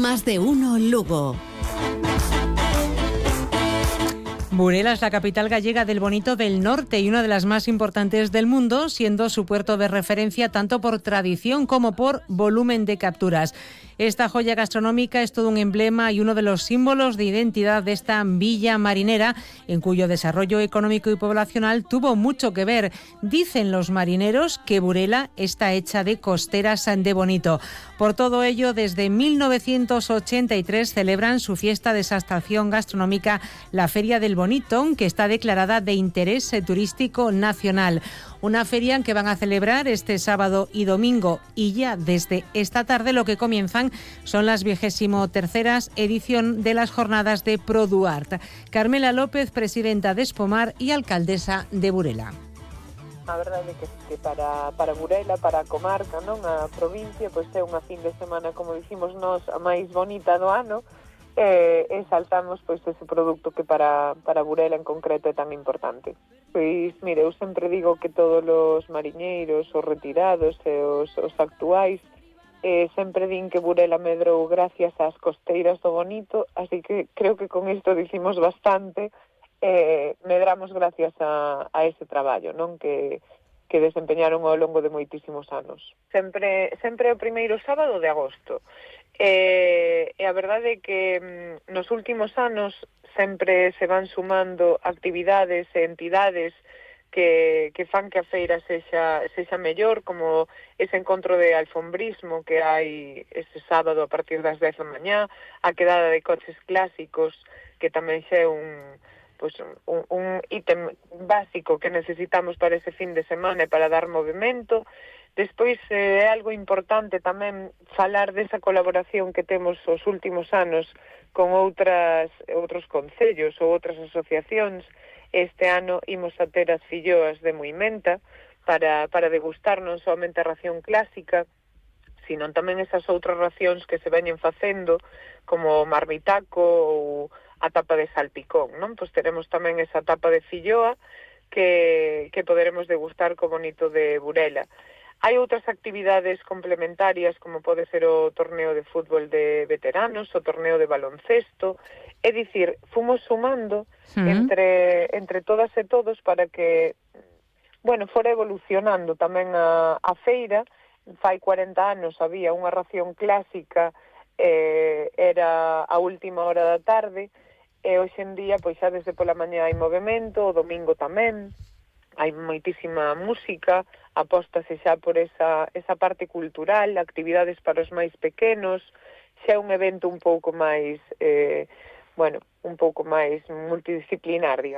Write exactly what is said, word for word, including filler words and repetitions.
Más de uno Lugo. Burela es la capital gallega del bonito del norte y una de las más importantes del mundo, siendo su puerto de referencia tanto por tradición como por volumen de capturas. Esta joya gastronómica es todo un emblema y uno de los símbolos de identidad de esta villa marinera, en cuyo desarrollo económico y poblacional tuvo mucho que ver. Dicen los marineros que Burela está hecha de costeras de bonito. Por todo ello, desde mil novecientos ochenta y tres celebran su fiesta de exaltación gastronómica, la Feria del Bonito, que está declarada de interés turístico nacional. Una feria que van a celebrar este sábado y domingo, y ya desde esta tarde lo que comienzan son las vigésimo terceras edición de las jornadas de ProDuart. Carmela López, presidenta de Espomar y alcaldesa de Burela. A verdade é que, que para, para Burela, para a comarca, non, a provincia, pois é unha fin de semana, como dicimos nós, a máis bonita do ano, e, e saltamos pois ese produto que para, para Burela en concreto é tan importante. Pois, mire, eu sempre digo que todos os mariñeiros, os retirados e os, os actuais, eh, sempre din que Burela medrou gracias ás costeiras do bonito, así que creo que con isto dicimos bastante. Eh, medramos gracias a, a ese traballo, non, que, que desempeñaron ao longo de moitísimos anos. Sempre, sempre o primeiro sábado de agosto. Eh, e a verdade é que mm, nos últimos anos sempre se van sumando actividades e entidades que, que fan que a feira sexa, sexa mellor, como ese encontro de alfombrismo que hai ese sábado a partir das dez da mañá, a quedada de coches clásicos, que tamén xa é un pois un, un ítem básico que necesitamos para ese fin de semana e para dar movimento. Despois eh, é algo importante tamén falar desa colaboración que temos os últimos anos con outras outros concellos ou outras asociacións. Este ano imos a ter as filloas de Muimenta para, para degustar non somente a ración clásica, sino tamén esas outras racións que se veñen facendo, como o marmitaco ou a tapa de salpicón, non? Pois teremos tamén esa tapa de filloa que, que poderemos degustar co bonito de Burela. Hai outras actividades complementarias, como pode ser o torneo de fútbol de veteranos, o torneo de baloncesto. É dicir, fomos sumando mm. entre, entre todas e todos para que, bueno, fora evolucionando tamén a, a feira. Fai cuarenta anos había unha ración clásica, eh, era a última hora da tarde, e hoxe en día, pois xa desde pola mañá hai movimento, o domingo tamén, hai moitísima música, apóstase xa por esa, esa parte cultural, actividades para os máis pequenos, xa é un evento un pouco máis, eh, bueno, un pouco máis multidisciplinar, digamos.